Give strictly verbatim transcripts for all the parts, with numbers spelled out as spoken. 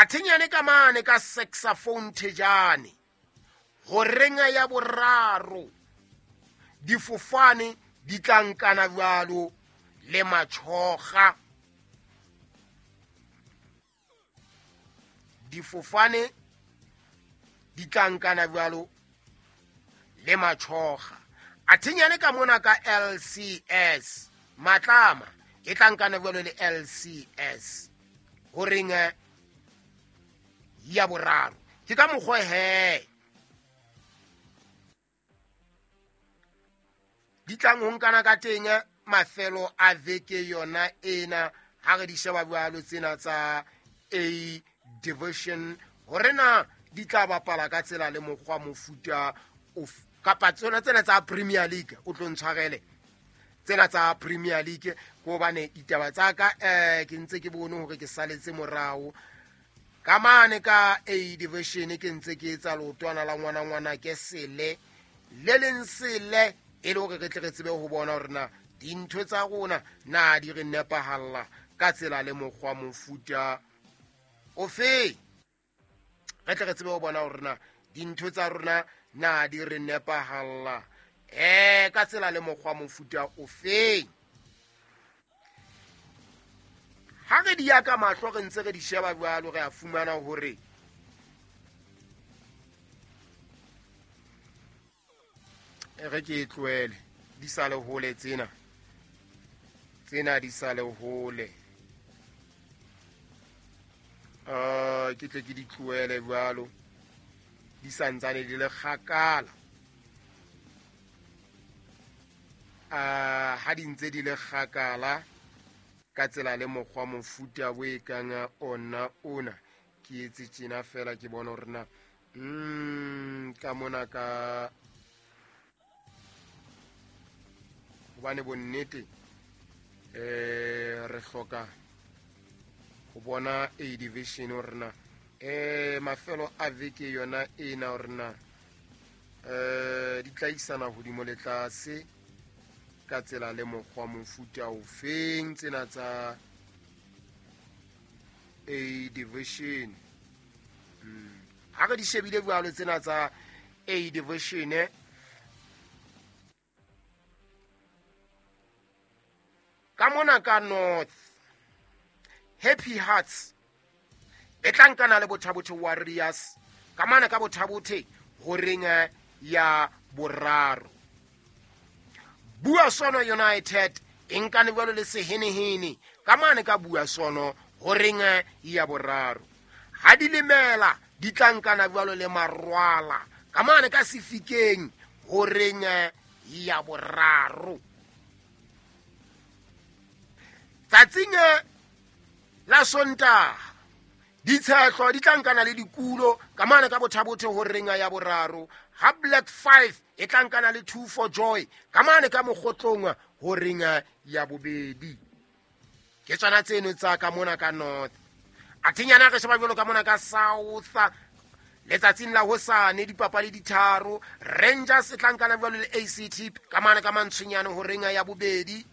A thinyane ka mane ka saxophone thejane horeng ya boraro difofane di tla nkana jwalo le matjhoga. Difofane di tla nkana jwalo le matjhoga. A thinyane ka mona ka L C S Matlama e tla nkana jwalo le L C S horeng ya boraro. Ke ka mokgwa he di tlang ho nkana ka teng mafelo a veke yona ena ha re di sheba jwalo tsena tsa A Division hore na di tla bapala ka tsela le mokgwa mofuta of kapa tsona tsena tsa Premier League. O tlo ntshwarele tsena tsa Premier League ko bane ditaba tsa ka eh ke ntse ke bone hore ke saletse morao ka mane ka A Division ke ntse ke etsa leotwana la ngwana ngwana ke sele le leng sele e le hore re tle re tsebe ho bona hore na dintho tsa rona na di re nepahalla ka tsela le mokgwa mofuta ofe. Re tle re tsebe ho bona hore na dintho tsa rona na di re nepahalla eh ka tsela le mokgwa mofuta ofe. Ha re di ya ka mahlo re ntse re di sheba jwalo re a fumana hore re ke tlohele di sale hole tsena tsena di sale hole ah ke tle ke di tlohele jwalo di santsane di le kgakala. Ah ha di ntse di le kgakala ka tsela le mokgwa mofuta o e kang ona ona ke etse tjena fela ke bona hore na mm ka mona ka hobane bonnete eh re hloka ho bona A Division hore na eh mafelo a veke yona ena hore na eh di tla isana hodimo le tlase ka tsela le mokgwa mofuta ofeng tsena tsa A Division. Ha re di shebile jwalo tsena tsa A Division ka mona ka North Happy Hearts e tla nkana le Bothabothe Warriors ka mane ka Bothabothe horeng ya boraro. Bua Sono United e nkane jwalo le Sehenehene ka mane ka Bua Sono horeng ya boraro. Ha di lemela di tla nkana jwalo le Marwala ka mane ka Sefikeng horeng ya boraro. Tsatsing la Sontaha ditshehlo di tla nkana le dikulo ka mane ka Bothabothe horeng ya boraro. Ha Black Five e tla nkana le Two for Joy ka mane ka Mokgotlong horeng ya bobedi. Ke tsona tseno tsa ka mona ka North. A thinyana re sheba jwalo ka mona ka South letsatsing la hosane dipapadi di tharo. Rangers e tla nkana jwalo le A C T ka mane ka Mantshwenyane horeng ya bobedi.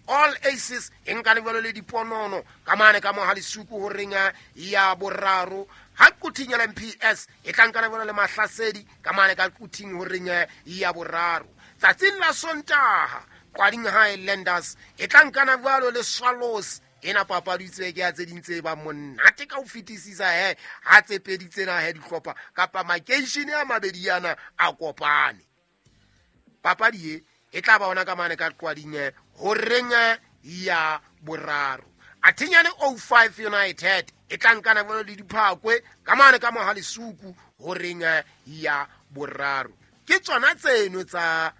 All Aces e nkane jwalo le Diponono ka mane ka Mohalisuku horeng ya boraro. Ha Quthing L M P S e tla nkana jwalo le Mahlasedi ka mane ka Quthing horeng ya boraro. Tsatsing la Sontaha Kwading Highlanders e tla nkana jwalo le Swallows. Ena papadi tse ke ya tse ding tse ba monate ka ho fetisisa he ha tse pedi tsena he dihlopha kapa makeishene a mabedi yana a kopane. Papadi e e tla ba ona ka mane ka Kwading horeng ya boraro. Athinyane oh five United e tla nkana jwalo le Diphakwe ka mane ka Mohalisuku horeng ya boraro. Ke tsona tseno tsa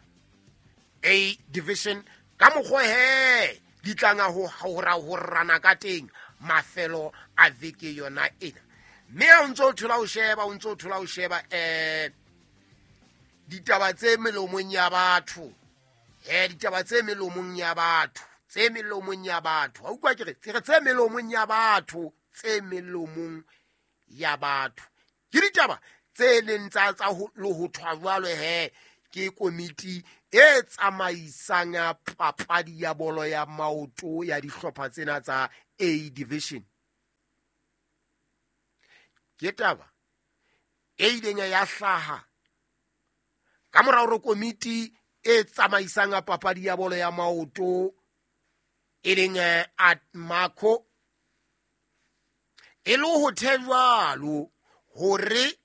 A Division ka mokgwa he di tlanga ho hora ho rana ka teng mafelo a veke yona ena. Mme o ntso thola o sheba o ntso thola o sheba eh ditaba tse melomong ya batho eh ditaba tse melomong ya batho tse melomong ya batho ha utlwa ke re tse melomong ya batho tse melomong ya batho ke ditaba tse leng tsa tsa ho ho thwa jwalo he ke komiti e tsamaisang papadi ya bolo ya maoto ya dihlopha tsena tsa A Division. Ke taba e ileng ya hlaha ka mora hore komiti e tsamaisang papadi ya bolo ya maoto e leng Atmaco e le ho thejwalo hore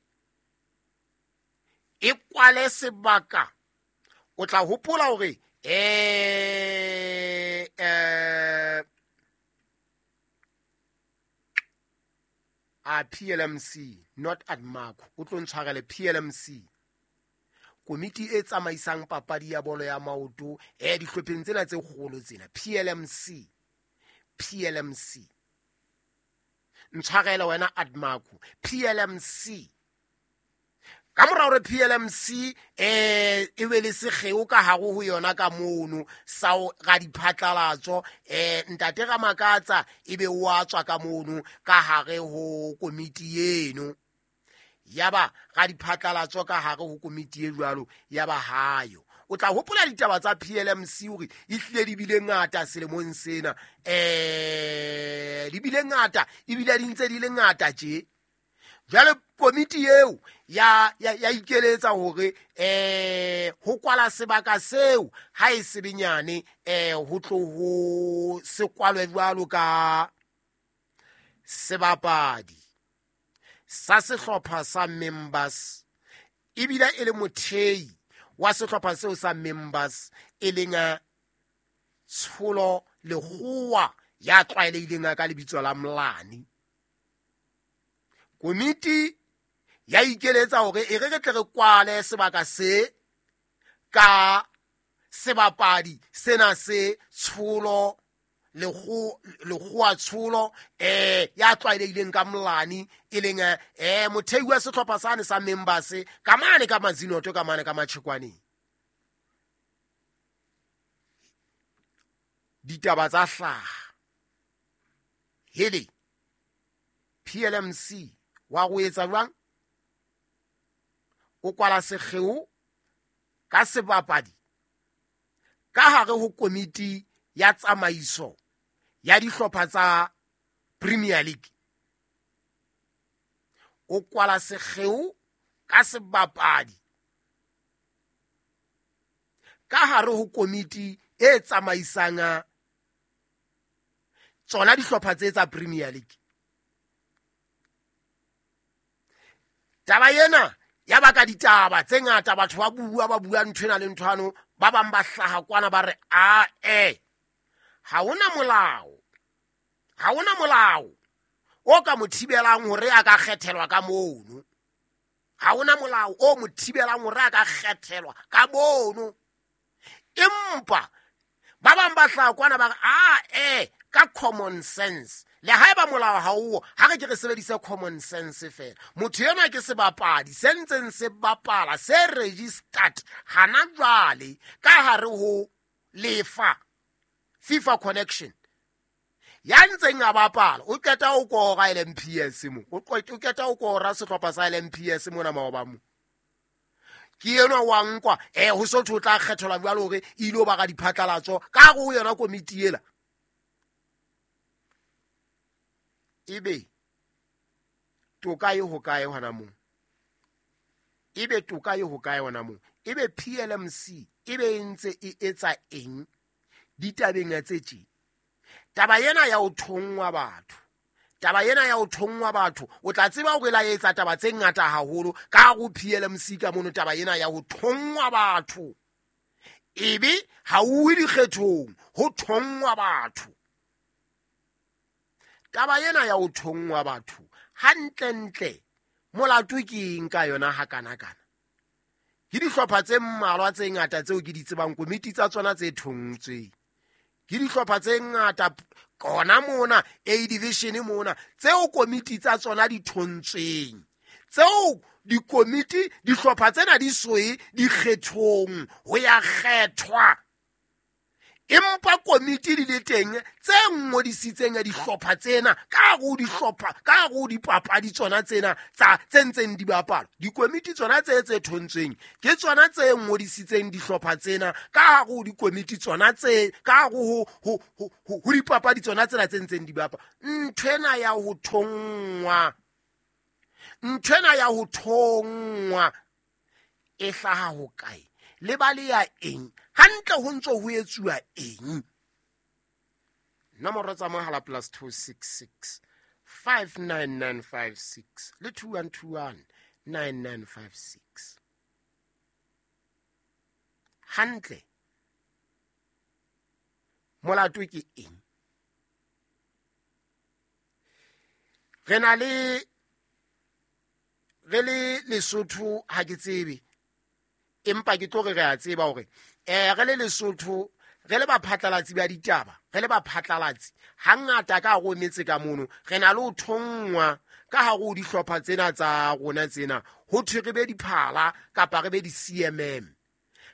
e kwale sebaka. O tla hopola hore eh eh a P L M C not Atmaco, o tlo ntshwarele P L M C, komiti e tsamaisang papadi ya bolo ya maoto eh dihlopheng tsena tse kgolo tsena, P L M C, P L M C, ntshwarele wena Atmaco, P L M C. Ka mora hore P L M C eh e be le sekgeo ka hare ho yona ka mono sa ga diphatlalatso, eh ntate Ramakatsa ebe o a tswa ka mono ka hare ho komiti eno, yaba ga diphatlalatso ka hare ho komiti e jwalo ya ba hayo. O tla hopola ditaba tsa P L M C hore e hlile di bile ngata selemong sena, eh di bile ngata ebile di ntse di le ngata tje. Jwale komiti eo ya ya ya ikeletsa hore eh ho kwala sebaka seo ha e sebenyane eh ho tlo ho se kwalwe jwalo ka sebapadi sa sehlopha sa members, ebile e le mothei wa sehlopha seo sa members e leng Tsholo Lekgowa ya tlwaelehileng ka lebitso la Mlani. Komiti ya ikeletsa hore e re re tle re kwale sebaka se ka sebapadi sena se Tsholo Lekgowa Tsholo eh ya tlwaelehileng ka Mlani e leng eh mothei wa sehlopha sane sa members ka mane ka Mazinoto ka mane ka Matjhekwaneng. Ditaba tsa hlaha hele P L M C wa go etsa jwang? O kwala sekgeo ka sebapadi ka hare ho komiti ya tsamaiso ya dihlopha tsa Premier League. O kwala sekgeo ka sebapadi ka hare ho komiti e tsamaisang tsona dihlopha tse tsa Premier League. Taba ena ya baka ditaba tse ngata, batho ba bua ba bua nthwena le nthwano, ba bang ba hlaha kwana ba re a e ha hona molao, ha hona molao o ka mo thibelang hore a ka kgethelwa ka mono, ha hona molao o mo thibelang hore a ka kgethelwa ka mono. Empa ba bang ba hlaha kwana ba re a e ka common sense, le haeba molao ha o ha re ke re sebedise common sense fela. Motho ena ke sebapadi se ntseng se bapala se registered hana jwale ka hare ho lefa FIFA connection ya ntseng a bapala, o qeta o kora L M P S mo, o qeta o kora sehlopha sa L M P S mona maoba mo, ke enwa wa nkwa eh ho so tho tla kgethelwa jwalo hore ile ba ga diphatlalatso ka go yona komiti ela. Ebe toka e ho kae hona moo? Ebe toka e ho kae hona moo? Ebe P L M C ebe e ntse e etsa eng ditabeng tse tje? Taba ena ya ho thongwa batho, taba ena ya ho thongwa batho, o tla tseba hore la etsa taba tse ngata haholo ka go P L M C ka mono. Taba ena ya ho thongwa batho ebe ha o we dikgethong, ho thongwa batho. Taba ena ya ho thongwa batho hantlentle molato ke eng ka yona hakanakana? Ke dihlopha tse mmalwa tse ngata tseo ke di tsebang komiti tsa tsona tse thontsweng, ke dihlopha tse ngata kona mona A division mona tseo komiti tsa tsona di thontsweng, tseo dikomiti dihlopha tsena di soe dikgethong ho ya kgethwa, empa komiti di le teng tse ngodisitseng ya dihlopha tsena ka go dihlopha ka go dipapadi tsona tsena tsa tse ntseng di bapala. Dikomiti tsona tse tse thontsweng ke tsona tse ngodisitseng dihlopha tsena ka go dikomiti tsona tse ka go ho ho dipapadi tsona tsena tse ntseng di bapala. Nthwena ya ho thongwa Nthwena ya ho thongwa e hlaha ho kae? Le ba le ya eng? Hantle ho ntso ho etsuwa eng? Nomoro tsa mohala plus two six six five nine nine five six le two one two one nine nine five six. Hantle molato ke eng? Re na le re le Lesotho ha ke tsebe, empa ke tlo re re a tseba hore eh re le Lesotho re le baphatlalatsi ba ditaba, re le baphatlalatsi hangata ka hare ho metse ka mono re na le ho thongwa ka hare ho dihlopha tsena tsa rona tsena ho thwe re be diphala kapa re be di-C M M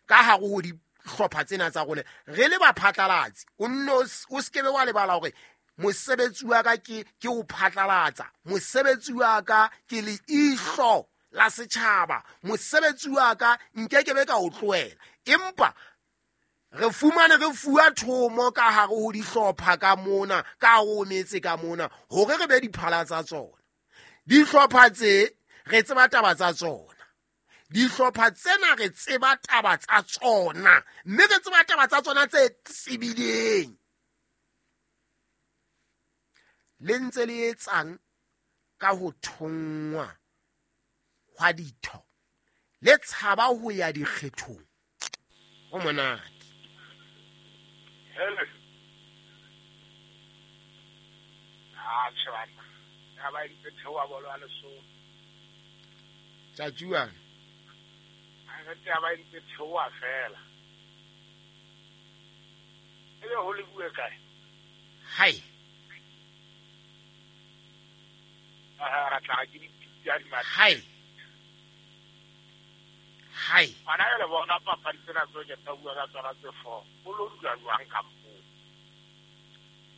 ka hare ho dihlopha tsena tsa rona. Re le baphatlalatsi o nno o skebe wa lebala hore mosebetsi wa ka ke ke ho phatlalatsa, mosebetsi wa ka ke leihlo la setjhaba, mosebetsi wa ka nkekebe ka o tlohela. Empa re fumane re fuwa thomo ka hare ho dihlopha ka mona, ka hare ho metse ka mona hore re be diphala tsa tsona. Dihlopha tse re tseba taba tsa tsona, dihlopha tsena re tseba taba tsa tsona, mme re tseba taba tsa tsona tse tsebileng. Le ntse le etsang ka ho thongwa hwa ditho, le tshaba ho ya dikgethong. Ho monate. Hello. Ah, tjhe ha ba itse theoha bolo ya Lesotho. Tjatjuana. Ha re taba itse theoha fela. Ebe ho le bue kae? Hai. Ah, ra tla ke dipitsa di matla. Hai. Hai. Ana le bona papadi tsena tso ke tla bua ka tsona tse four. O lo dula jwang ka moo?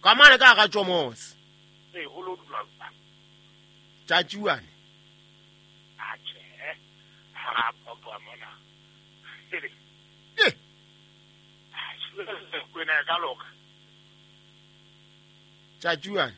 Ka mane ka ga tjomose. Ee, ho lo dula jwang? Tjatjuane. Ah, tjhe. Ha papa mona. Eh. Ah, kwena ka loka. Tjatjuane.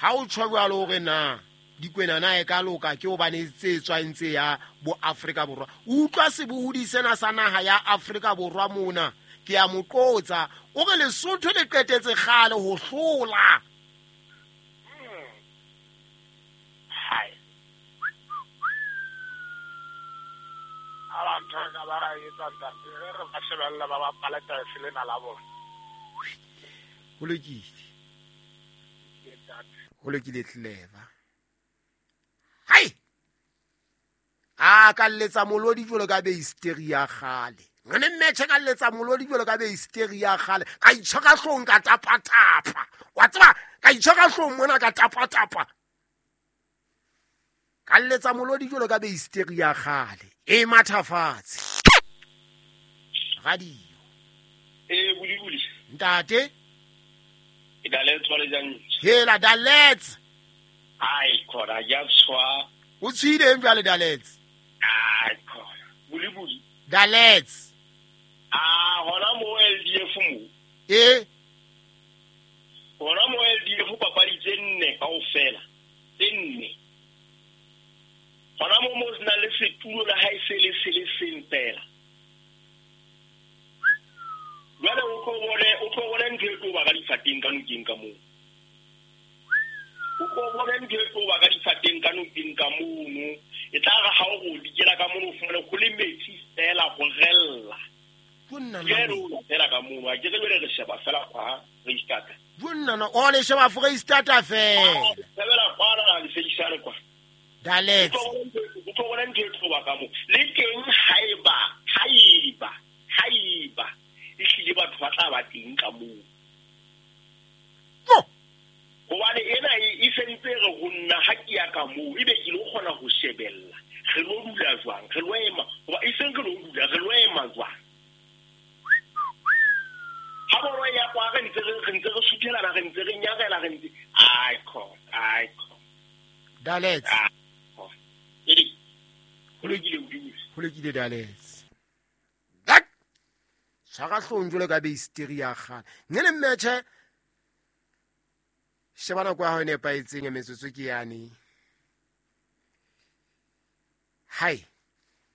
Ha o tjho jwalo hore na dikwena na e ka loka ke hobane tse tswang tse ya bo Afrika Borwa. Utlwa sebohodi sena sa naha ya Afrika Borwa mona, ke a mo qotsa o re Lesotho le qetetse kgale ho hlola. Hai. Ala ntho ka ba ra etsa ntate re ba shebella ba bapala tafe lena la bona. Ho lokile. Ho lokile clever. Hai. A ka letsa molodi jwalo ka be hysteria kgale. Ngene mmetjhe ka letsa molodi jwalo ka be hysteria kgale. Ka itjha hlong ka tapa tapa. Wa tseba ka itjha hlong mona ka tapa tapa. Ka letsa molodi jwalo ka be hysteria kgale. E mathafatse. Radio. Eh buli buli. Ntate. E daletswa le jang? Hela dalets. Ai khona ya tshwa. O tshwile jwale dalets. Ai khona. Buli buli. Dalets. Ah hona mo L D F mo. Eh. Hona mo L D F papadi tse nne kaofela. Tse nne. Hona mo mo sna le setulo la ha e se le se le seng fela. Jwale o tlo bone o tlo bone ntho e tlo ba ka difateng ka nokeng ka moo. O tlo bone ntho e tlo ba ka difateng ka nokeng ka mono. E tla re ha o go dikela ka mono o fumane go le metsi fela go rella. Bonna na fela ka mono a ke re jwale re sheba fela kwa Freistata. Bonna na o le sheba Freistata fela. Shebela kwa la le feisane kwa. Dalets. O tlo bone ntho e tlo ba ka moo. Le teng haeba haeba haeba ehlile batho ba tla ba teng ka moo. Hobane ena e sentse re ho nna ha ke ya ka moo ebe ke lo kgona ho shebella. Re lo dula jwang? Re lo ema hoba e seng re lo dula, re lo ema jwang? Ha bolo ya kwa re ntse re ntse re suthelana, re ntse re nyarela, re ntse ai khona, ai khona. Dalets. Edi. Ho lokile hodimo. Ho lokile dalets. Tshwara hlong jwalo ka be hysteria kgale. Nne le mmetjhe sheba nako ya hao e nepahetseng metsotso ke yane. Hai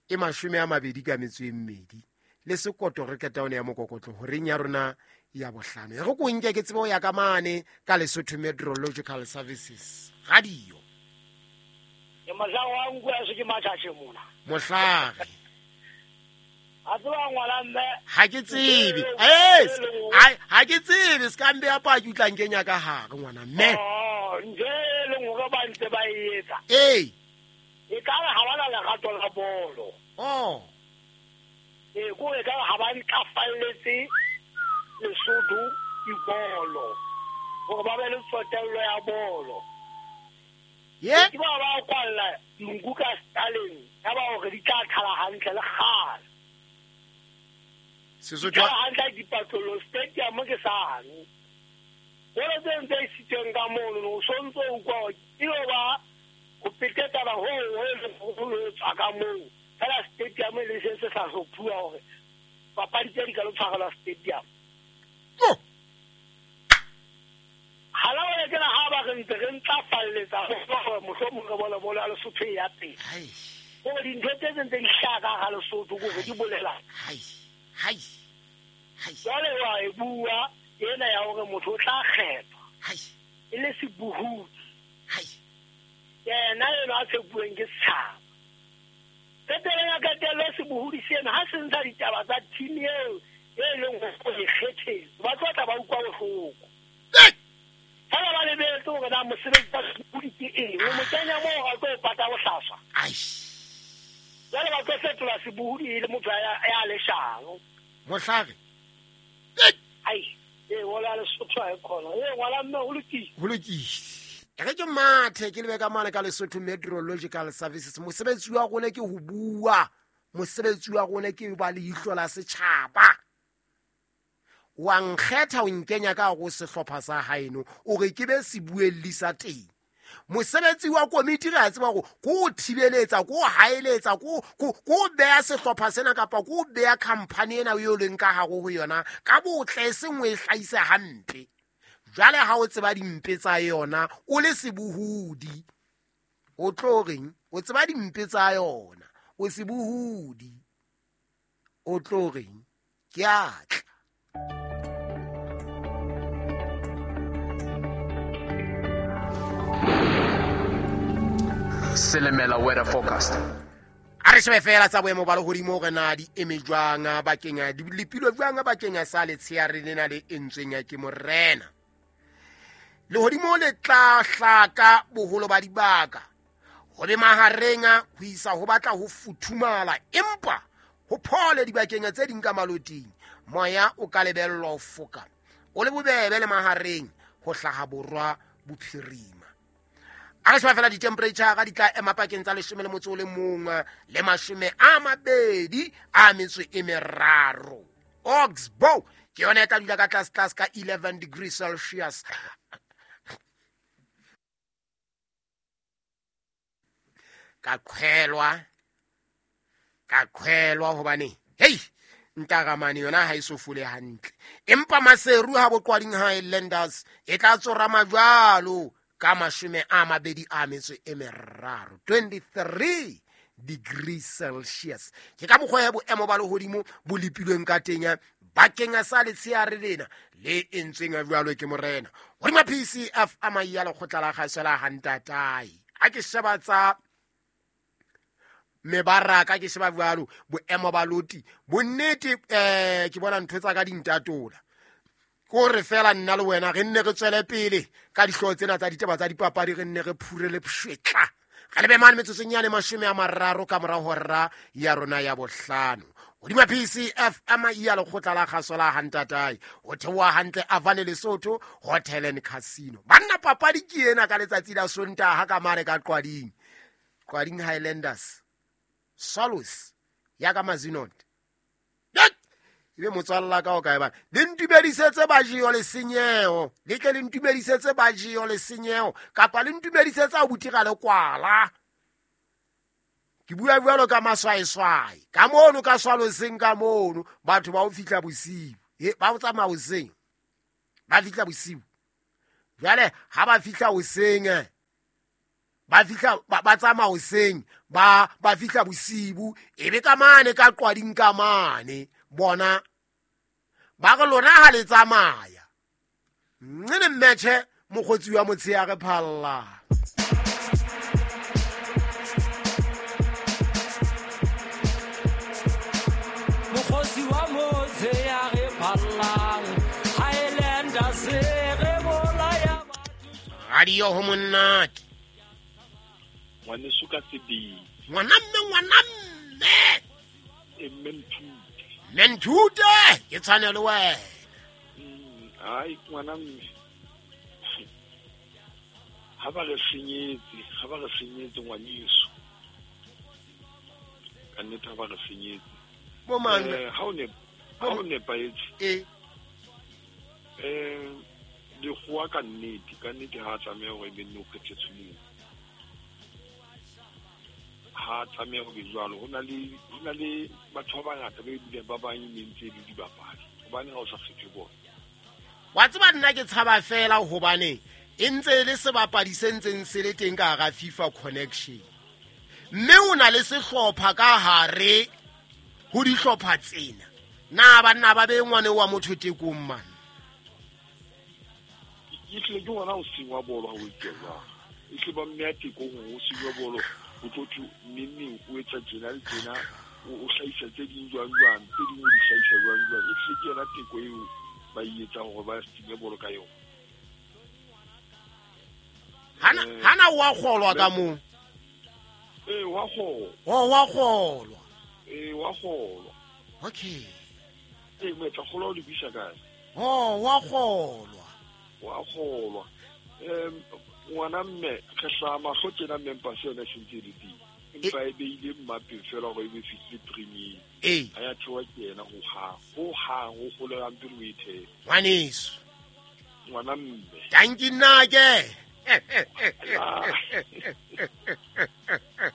e mashome a mabedi ka metso e mmedi le sekoto re qeta one ya mokokotlo horeng ya rona ya bohlano. E re ko nke ke tsebe ho ya ka mane ka Lesotho Meteorological Services radio. Ke mohlang wa nku ya se ke matjatjhe mona. Mohlare. A tseba ngwana mme. Ha ke tsebe. Eh, ha ke tsebe se ka mbe ya paki o tla nkenya ka hare ngwana mme. Oh, nje le ngore ba ntse ba e etsa. Eh. E ka re ha bana lerato la bolo. Oh. E ko e ka re ha ba ntlafalletse Lesotho dibolo. Hore ba be le tsotello ya bolo. Ye? Ke ba ba kwalla nku ka staleng, ya ba hore di tla thala hantle le kgale. Sesotho hantle dipatlolo stadium ke sane. Bolo tse ntse e siteng ka mono no sontso o kwa e ba ho petetsa ba ho ho ho tswa ka moo. Fela stadium le se se sa hlophuwa hore papadi tse di ka lo tshwarelwa stadium. Oh. Hala wa ke la ha ba re ntse re ntlafalletsa hore mohlomong re bone bolo ya Lesotho e ya pele. Hai. Hore dintho tse tse di hlaka ha Lesotho ke hore di bolela. Hai. Hai. Hai. Jwale wa e bua ena ya hore motho o tla kgethwa. Hai. E le sebohodi. Hai. Yena eno a tshepuweng ke setjhaba. Qetelong ya qetello sebohodi sena ha se ntsha ditaba tsa team eo e leng hore e kgethetswe. Ba tlo tla ba utlwa bohloko. Fela ba lebetse hore na mosebetsi wa sebohodi ke eng. O mo kenya moo a tlo pata bohlaswa. Ai. Jwale ba tlo fetola sebohodi e le motho ya leshano. Mohlare. Ai, e wala Lesotho ha e khona. E ngwana mme ho lokile. Ho lokile. E re ke mathe ke lebe ka mane ka Lesotho Meteorological Services. Mosebetsi wa rona ke ho bua. Mosebetsi wa rona ke ba leihlo la setjhaba. Wa nkgetha o nkenya ka go sehlopha sa haeno o re ke be sebuelli sa teng. Mosebetsi wa komiti re a tseba hore ko o thibeletsa, ko o haeletsa, ko ko ko beya sehlopha sena kapa ko beya company ena eo leng ka hare ho yona ka botle e seng o e hlahise hampe. Jwale ha o tseba dimpe tsa yona o le sebohodi o tlo reng? O tseba dimpe tsa yona o sebohodi o tlo reng? Ke a tla. Selemela weather forecast. A re shebe fela tsa boemo ba lehodimo hore na di eme jwang bakeng di lepilwe jwang bakeng sa letsheare lena le entsweng ke morena. Lehodimo le tla hlaka boholo ba dibaka ho be mahareng ho isa ho batla ho futhumala empa ho phole dibakeng tse ding ka maloting. Moya o ka lebellwa ho foka o le bobebe le mahareng ho hlaha borwa bophirima. A re sheba fela di-temperature ga di tla ema pakeng tsa leshome le motso o le mong le mashome a mabedi a metso e meraro. Oxbow ke yona e tla dula ka tlase tlase ka eleven degrees Celsius. Ka qhelwa ka qhelwa hobane hei ntaramane yona ha e so fole hantle. Empa Maseru ha boqwading Highlanders e tla tsorama jwalo ka mashome a mabedi a metso e meraro, twenty-three degrees Celsius. Ke ka mokgwa ya boemo ba lehodimo bo lepilweng ka teng bakeng sa letsheare lena le entsweng jwalo ke morena. Hodima P C F a mai ya lekgotla la kgaso la Hantatai. Ha ke sheba tsa mebaraka ke sheba jwalo boemo ba loti bonnete eh ke bona ntho tsa ka dintatola. Ko re fela nna le wena re nne re tswele pele ka dihlooho tsena tsa ditaba tsa dipapadi re nne re phure le pshwetla. Re lebe mane metsotsong yane mashome a mararo ka mora hora ya rona ya bohlano. Hodima P C F M ya lekgotla la kgaso la Hantatai ho theoha hantle Avane Lesotho Hotel and Casino. Banna papadi ke ena ka letsatsi la Sontaha ka mane ka Qwading. Qwading Highlanders Swallows ya ka Mazinot. Ebe motswalla ka o kae bana le ntumedisetse bajeo le senyeho le tle le ntumedisetse bajeo le senyeho kapa le ntumedisetse abuti ga le kwala. Ke bua jwalo ka maswaeswae ka mono ka Swallowseng ka mono batho ba o fihla bosiu e ba o tsamaya hoseng ba fihla bosiu. Jwale ha ba fihla hoseng Ba fihla ba tsamaya hoseng, ba ba fihla bosibu, e be ka mane ka qwading ka mane. Bona ba re lona ha le tsamaya. Nne mmetjhe mokgotsi wa motshehare phalla. Mokgotsi wa motshehare phalla, Highlanders re bolaya batho. Radio ho monate. Ngwaneso ka sebele. Ngwana mme, ngwana mme. E mme Nthute. Mme Nthute, ke tshwane le wena. Mm, ai ngwana mme. Ha ba re senyetse, ha ba re senyetse ngwaneso. Ka nnete ha ba re senyetse. Bo mang? Eh, ha o ne, ha o nepahetse. Eh. Eh, lekgowa ka nnete, ka nnete ha a tlameha hore ebe nne o kgethetswe moo. Ha tlameha ho be jwalo. Ho na le, ho na le batho ba bangata ba ebileng ba bang e mentse e le dibapadi. Hobane ha o sa kgethwe bona. Wa tseba nna ke tshaba fela hobane e ntse e le sebapadi se ntseng se le teng ka hara FIFA Connection. Mme o na le sehlopha ka hare ho dihlopha tsena. Na banna ba be ngwane wa motho tekong man. E hlile ke ngwana o sengwa bolo ha o etsa jwalo. E hlile ba mme ya tekong o sengwa bolo. O tlo thwe neng o etsa tjena le tjena, o hlahisa tse ding jwang jwang, tse ding o di hlahisa jwang jwang. E hlile ke yona teko eo ba e etsang hore ba senye bolo ka yona. Hana hana wa kgolwa ka moo. Eh, wa kgolwa. Oh, wa kgolwa. Eh, wa kgolwa. Okay. Eh, metla kgolwa o di buisa kae? Oh, wa kgolwa. Wa kgolwa. Eh, ngwana mme re hlaha mahlo tjena mme mpa se yona e sentse e le teng. Empa e beile mmapeng fela hore e be fihlile premier. Eh. Ha ya theoha ke yena ho hang. Ho hang ho kgolelang pele o e thehe. Ngwaneso. Ngwana mme. Tanki nna ke.